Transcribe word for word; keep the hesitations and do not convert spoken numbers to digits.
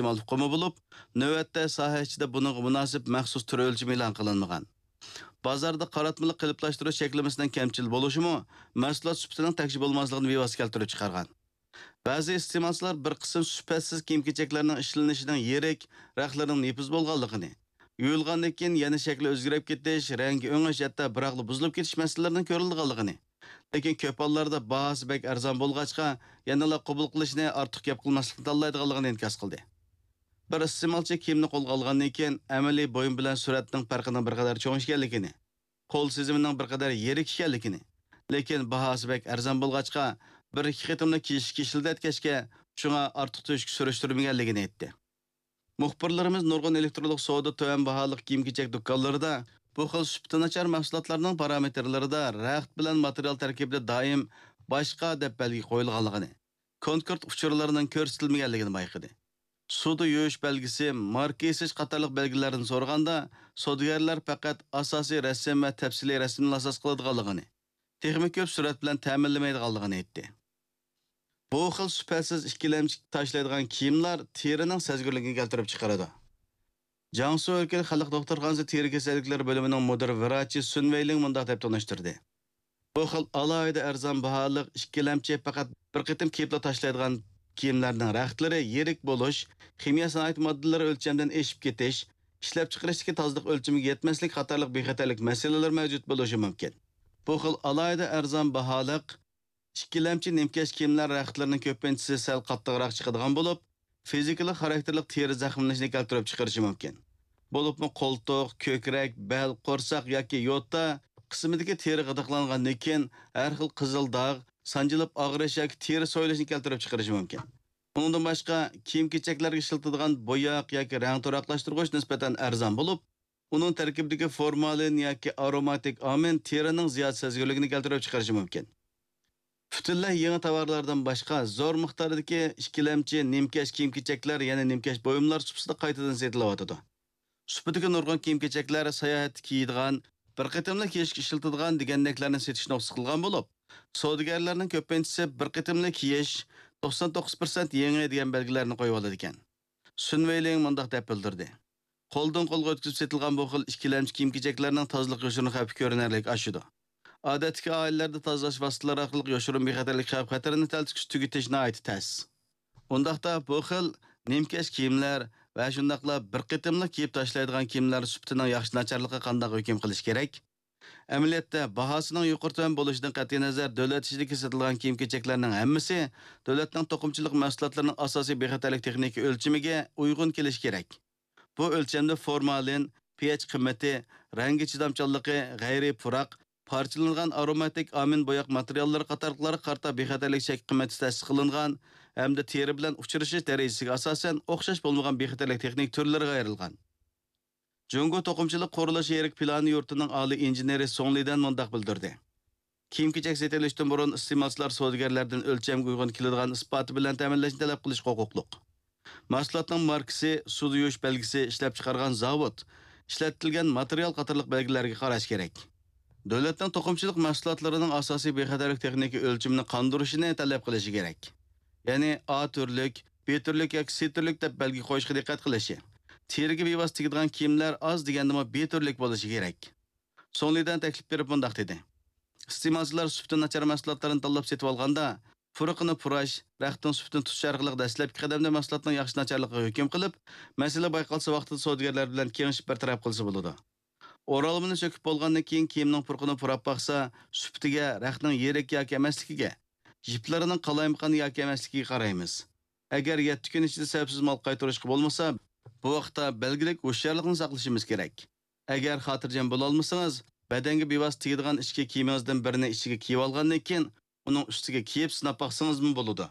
ئىستېمال ئۇقۇمى بولۇپ، نۆۋەتتە ساھە ئىچىدە بۇنىڭغا مۇناسىپ مەخسۇس تۈر ئۆلچىمى ئېلان قىلىنمىغان. بازاردا قاراتمىلىق قېلىپلاشتۇرۇش چەكلىمىسىنىڭ كەمچىل بولۇشىمۇ مەھسۇلات سۈپىتىنىڭ تەكشى بولماسلىقىنى بىۋاسىتە كەلتۈرۈپ چىقارغان. بەزى ئىستېمالچىلار بىر قىسىم سۈپەتسىز كىيىم-كېچەكلەرنىڭ ئىشلىنىشىنىڭ يىرىك، رەختلىرىنىڭ نېپىز بولغانلىقىنى، يۇيۇلغاندىن كېيىن يەنە شەكلى ئۆزگىرىپ كېتىش، رەڭگى ئۆڭۈش، ھەتتا بىراقلا بۇزۇلۇپ كېتىش مەسىلىلىرىنىڭ كۆرۈلىدىغانلىقىنى، لېكىن كۆپ ھاللاردا باھاسى بەك ئەرزان بولغاچقا، يەنىلا قوبۇل قىلىشنى، ئارتۇق گەپ قىلماسلىقنى تاللايدىغانلىقىنى ئىنكاس قىلدى. بىر ئىستېمالچى كىيىمنى قولغا ئالغاندىن كېيىن، ئەمەلىي بۇيۇم بىلەن سۈرەتنىڭ پەرقىنىڭ بىر قەدەر چوڭ ئىكەنلىكىنى، قول سېزىمىنىڭ بىر قەدەر يىرىك ئىكەنلىكىنى، لېكىن باھاسى بەك ئەرزان بولغاچقا، بىر ئىككى قېتىملا كىيىشكە ئىشلىتىۋەتكەچكە، شۇڭا ئارتۇق تۆشۈككە سۈرۈشتۈرمىگەنلىكىنى ئېيتتى. مۇخبىرلىرىمىز نۇرغۇن ئېلېكترونلۇق سودا تۆۋەن باھالىق كىيىم-كېچەك دۇكانلىرىدا بۇ خىل سۈپىتى ناچار مەھسۇلاتلارنىڭ پارامېتىرلىرىدا رەخت بىلەن ماتېرىيال تەركىبىدە دائىم باشقا دەپ بەلگە قويۇلغانلىقىنى، كونكرېت ئۇچۇرلىرىنىڭ كۆرسىتىلمىگەنلىكىنى بايقىدى. سۇدا يۇيۇش بەلگىسى، ماركا يېزىش قاتارلىق بەلگىلەردىن سورىغاندا، سودىگەرلەر پەقەت ئاساسىي رەسىم ۋە تەپسىلىي رەسىمنى ئاساس قىلىدىغانلىقىنى، تېخىمۇ كۆپ سۈرەت بىلەن تەمىنلىمەيدىغانلىقىنى ئېيتتى. بۇ خىل سۈپەتسىز ئىككىلەمچى تاشلايدىغان كىيىملەر تېرىنىڭ سەزگۈرلۈكىنى كەلتۈرۈپ چىقىرىدۇ. جياڭسۇ ئۆلكىلىك خەلق دوختۇرخانىسى تېرە كېسەللىكلىرى بۆلۈمىنىڭ مۇدىر ۋراچى سۈن ۋەيلىڭ مۇنداق دەپ تونۇشتۇردى: بۇ خىل ئالاھىدە ئەرزان باھالىق ئىككىلەمچى پەقەت بىر قېتىم كىيىپلا تاشلايدىغان كىيىملەرنىڭ رەختلىرى يىرىك بولۇش، خىمىيە سانائەت ماددىلىرى ئۆلچەمدىن ئېشىپ كېتىش، ئىشلەپچىقىرىشتىكى تازىلىق ئۆلچىمىگە يەتمەسلىك قاتارلىق بىخەتەرلىك مەسىلىلىرى مەۋجۇت بولۇشى مۇمكىن. بۇ خىل ئالاھىدە ئەرزان باھالىق ئىككىلەمچى نىمكەش كىيىملەر رەختلىرىنىڭ كۆپىنچىسى سەل قاتتىقراق چىقىدىغان بولۇپ، فىزىكىلىق خاراكتېرلىق تېرە زەخىملىنىشىنى كەلتۈرۈپ چىقىرىشى مۇمكىن. بولۇپمۇ قولتۇق، كۆكرەك، بەل، قورساق ياكى يوتا قىسمىدىكى تېرە غىدىقلانغاندىن كېيىن ھەر خىل قىزىل داغ، سانجىلىپ ئاغرىش ياكى تېرە سويۇلۇشنى كەلتۈرۈپ چىقىرىشى مۇمكىن. ئۇنىڭدىن باشقا، كىيىم-كېچەكلەرگە ئىشلىتىدىغان بوياق ياكى رەڭ تۇراقلاشتۇرغۇچ نىسبەتەن ئەرزان بولۇپ، ئۇنىڭ تەركىبىدىكى فورمالىن ياكى ئاروماتىك ئامىن تېرىنىڭ زىيادە سەزگۈرلۈكىنى كەلتۈرۈپ چىقىرىشى مۇمكىن. پۈتۈنلەي يېڭى تاۋارلاردىن باشقا، زور مىقداردىكى ئىككىلەمچى نىمكەش كىيىم-كېچەكلەر يەنە نىمكەش بۇيۇملار سۇپىسىدا قايتىدىن سېتىلىۋاتىدۇ. سۇپىدىكى نۇرغۇن كىيىم-كېچەكلەر ساياھەتتە كىيىدىغان، بىر قېتىملا كىيىشكە ئىشلىتىدىغان دېگەندەكلەرنى سېتىشنى نۇقتا قىلغان بولۇپ، سودىگەرلەرنىڭ كۆپىنچىسى بىر قېتىملا كىيىش، توقسان توققۇز پىرسەنت يېڭى دېگەن بەلگىلەرنى قويۇۋالىدىكەن. سۈن ۋېيلىڭ مۇنداق دەپ بىلدۈردى: قولدىن قولغا ئۆتكۈزۈپ سېتىلغان بۇ خىل ئىككىلەمچى كىيىم-كېچەكلەرنىڭ تازىلىق يوشۇرۇنى خەۋپى كۆرۈنەرلىك ئاشىدۇ. ئادەتتىكى ئائىلىلەردە تازىلاش ۋاسىتىلىرى ئارقىلىق يوشۇرۇن بىخەتەرلىك خەۋپ-خەتىرىنى تەلتۆكۈس تۈگىتىش ناھايىتى تەس. ئۇنداقتا بۇ خىل نىمكەش كىيىملەر ۋە شۇنداقلا بىر قېتىملىق كىيىپ تاشلايدىغان كىيىملەر سۈپىتىنىڭ ياخشى-ناچارلىقىغا قانداق ھۆكۈم قىلىش كېرەك؟ ئەمەلىيەتتە، باھاسىنىڭ يۇقىرى-تۆۋەن بولۇشىدىن قەتئىينەزەر، دۆلەت ئىچىدىكى سېتىلغان كىيىم-كېچەكلەرنىڭ ھەممىسى دۆلەتنىڭ توقۇمىچىلىق مەھسۇلاتلىرىنىڭ ئاساسىي بىخەتەرلىك تېخنىكا ئۆلچىمىگە ئۇيغۇن كېلىشى كېرەك. بۇ ئۆلچەمدە فورمالىن، پېئېچ قىممىتى، رەڭگە چىدامچانلىقى، غەيرىي پۇراق، پارچىلىنىدىغان ئاروماتىك ئامىن بوياق ماتېرىياللىرى قاتارلىقلارغا قارىتا بىخەتەرلىك چەك قىممىتى تەسىس قىلىنغان ھەمدە تېرە بىلەن ئۇچرىشىش دەرىجىسىگە ئاساسەن ئوخشاش بولمىغان بىخەتەرلىك تېخنىكا تۈرلىرىگە ئايرىلغان. جۇڭگو توقۇمىچىلىق قۇرۇلۇشى يىرىك پىلانى يۇرتىنىڭ ئالىي ئىنژېنېرى سۇڭ لىدەن مۇنداق بىلدۈردى: كىيىم-كېچەك سېتىۋېلىشتىن بۇرۇن ئىستېمالچىلار سودىگەرلەردىن ئۆلچەمگە ئۇيغۇن كېلىدىغان ئىسپاتى بىلەن تەمىنلەشنى تەلەپ قىلىشقا ھوقۇقلۇق. مەھسۇلاتنىڭ ماركىسى، سۇدا يۇيۇش بەلگىسى، ئىشلەپچىقارغان زاۋۇت، ئىشلەتىلگەن ماتېرىيال قاتارلىق بەلگىلەرگە قاراش كېرەك. دۆلەتنىڭ توقۇمىچىلىق مەھسۇلاتلىرىنىڭ ئاساسىي بىخەتەرلىك تېخنىكا ئۆلچىمىنى قاندۇرۇشىنى تەلەپ قىلىشى كېرەك. يەنى ئا تۈرلۈك، بى تۈرلۈك ياكى سى تۈرلۈك دەپ بەلگە قويۇشقا دىققەت قىلىشى، تېرىگە بىۋاسىتە تېگىدىغان كىيىملەر ئاز دېگەندىمۇ بى تۈرلۈك بولۇشى كېرەك. سۇڭ لىدەن تەكلىپ بېرىپ مۇنداق دېدى: ئىستېمالچىلار سۈپىتى ناچار مەھسۇلاتلارنى تاللاپ سېتىۋالغاندا، پۇرىقىنى پۇراش، رەختنىڭ سۈپىتىنى تۇتۇش ئارقىلىق دەسلەپكى قەدەمدە مەھسۇلاتنىڭ ياخشى-ناچارلىقىغا ھۆكۈم قىلىپ، مەسىلە بايقالسا ۋاقتىدا سودىگەرلەر بىلەن كېڭىشىپ بىر تەرەپ قىلسا بولىدۇ. ئورالمىنى سۆكۈپ بولغاندىن كېيىن كىيىمنىڭ پۇرىقىنى پۇراپ باقسا، سۈپىتىگە، رەختنىڭ يىرىك ياكى ئەمەسلىكىگە، يىپلىرىنىڭ قالايمىقان ياكى ئەمەسلىكىگە قارايمىز. ئەگەر يەتتە كۈن ئىچىدە سەۋەبسىز مال قايتۇرۇشقا بولمىسا، بۇ ۋاقىتتا بەلگىلىك ھوشيارلىقنى ساقلىشىمىز كېرەك. ئەگەر خاتىرجەم بولالمىسىڭىز، بەدەنگە بىۋاسىتە تېگىدىغان ئىچكى كىيىمىڭىزدىن بىرىنى ئىچىگە كىيىۋالغاندىن كېيىن، ئۇنىڭ ئۈستىگە كىيىپ سىناپ باقسىڭىزمۇ بولىدۇ.